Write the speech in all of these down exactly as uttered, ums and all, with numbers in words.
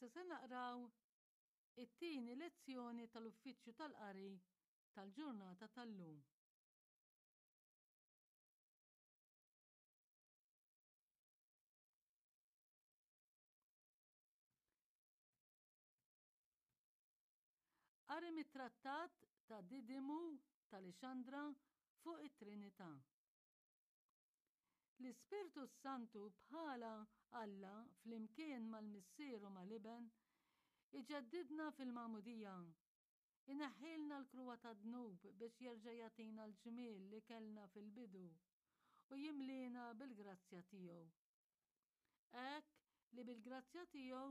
Issa se naqraw it-tieni lezzjoni tal-Uffiċċju tal-Qari tal-ġurnata tal-lum. Qari mit-Trattat ta' Didimu ta' Lixandra fuq it-Trinità. L-Ispirtu s-Santu bħala Alla flimkien mal-Missier u mal-Iben iġeddidna fil-magħmudija, ineħħilna l-kruha tad-dnub biex jerġa' jagħtina l-ġmiel li kellna fil-bidu u jimliena bil-grazzja tiegħu. Hekk li bil-grazzja tiegħu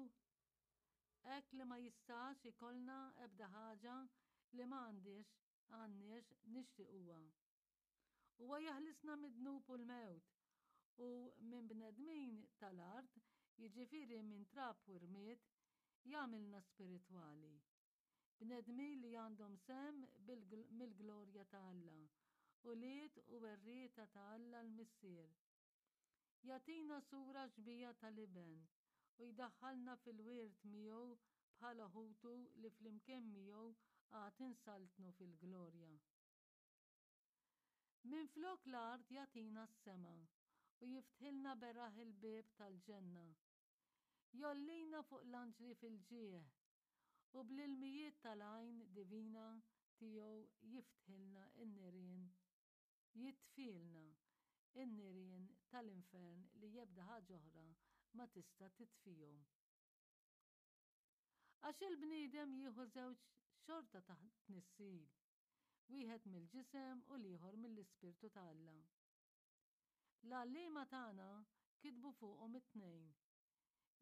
hekk li ma jistax ikollna ebda ħaġa li ma għandix għandniex nixtiquha. Huwa jaħlisna mid-dnub u l-mewt u minn bnedmin tal-art, jiġifieri minn trab u rmied, jagħmilna spiritwali. Bnedmin li għandhom sehem mill-glorja ta' Alla, ulied u werrieta ta' Alla l-Missier. Jagħtina sura xbieha tal-Iben u jdaħħalna fil-wirt miegħu bħala ħutu li flimkien miegħu għad insaltnu fil-glorja. Minflok l-art jagħtina s-sema u jiftħilna beraħ il-bieb tal-ġenna. Jgħollina fuq l-anġli fil-ġieħ u bl-ilmijiet tal-għajn divina tiegħu jiftħilna n-nirien, jitfilna n-nirien tal-infern li ebda ħaġa oħra ma tista' titfihom. Għax il-bniedem jieħu żewġ xorta ta' tnissil, wieħed mill-ġisem u l-ieħor mill-Ispirtu ta' Alla. L-għalliema tagħna kitbu fuqhom it-tnejn.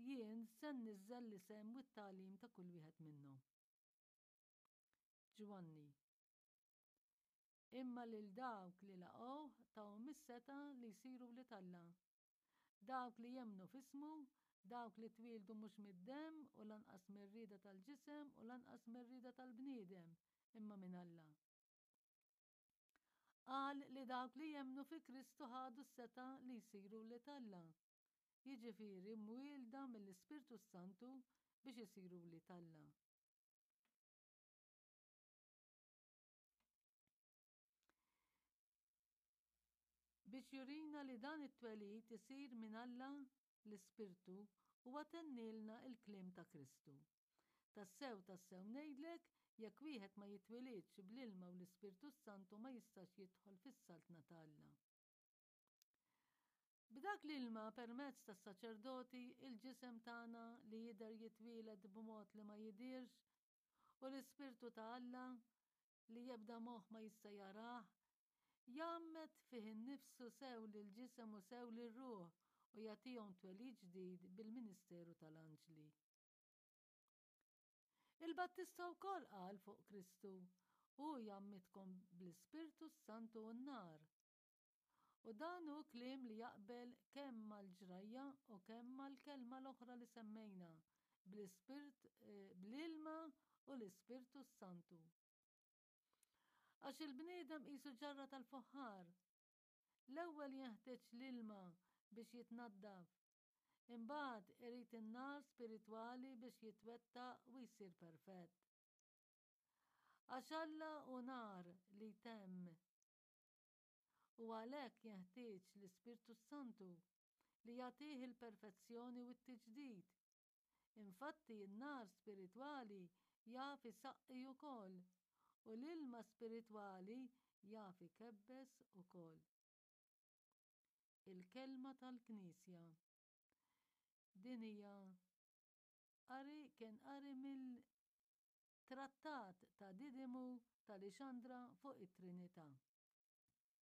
Jien se nniżżel l-isem u t-tagħlim ta' kull wieħed minnhom. Ġwanni. Imma lil dawk li laqgħuh tahom is-setgħa li jsiru wlied Alla. Dawk li jemmnu f'ismu, dawk li twieldu mhux mid-demm u lanqas mir-rieda tal-ġisem u lanqas mir-rieda tal-bniedem, imma minn Alla. Qal li dawk li jemmnu fi Kristu ħadu s-setgħa li jsiru wlied Alla, jiġifieri mwielda mill-Ispirtu s-Santu biex isiru wlied Alla. Biex jurina li dan it-twelid isir minn Alla l-Ispirtu, huwa tennielna l-kliem ta' Kristu. Tassew, tassew ngħidlek, jekk wieħed ma jitwilidx bl-ilma u l-Ispirtu s-Santu ma jistax jidħol fis-Saltna ta' Alla. B'dak l-ilma permezz tas-saċerdoti il-ġisem tagħna li jidher jitwieled b'mod li ma jidhirx u l-Ispirtu ta' Alla li ebda moħħ ma jista' jarah, jgħammed fih innifsu sew lill-ġisem u sew lir-ruħ u jagħtihom twelid ġdid bil-ministeru tal-anġli. Il-Battista wkoll qal fuq Kristu, Hu jgħammidkom bl-Ispirtu s-Santu u n-nar. U dan hu kliem li jaqbel kemm mal-ġrajja u kemm mal-kelma l-oħra li semmejna, bl-Ispirt, eh, bl-ilma u l-Ispirtu s-Santu. Għax il-bniedem qisu ġarra tal-fuħħar. L-ewwel jenħtieġ l-ilma biex jitnaddaf. Imbagħad irid in-nar spiritwali biex jitwettaq u jsir perfett. Għax Alla hu nar li jtemm. U għalhekk jenħtieġ l-Ispirtu s-Santu li jagħtih il-perfezzjoni u t-tiġdid. Infatti n-nar spiritwali jaf isaqqi ukoll u l-ilma spiritwali jaf ikebbes ukoll. Il-kelma tal-Knisja. Din hija qari kien qari mill-Trattat ta' Didimu ta' Lixandra fuq it-Trinità.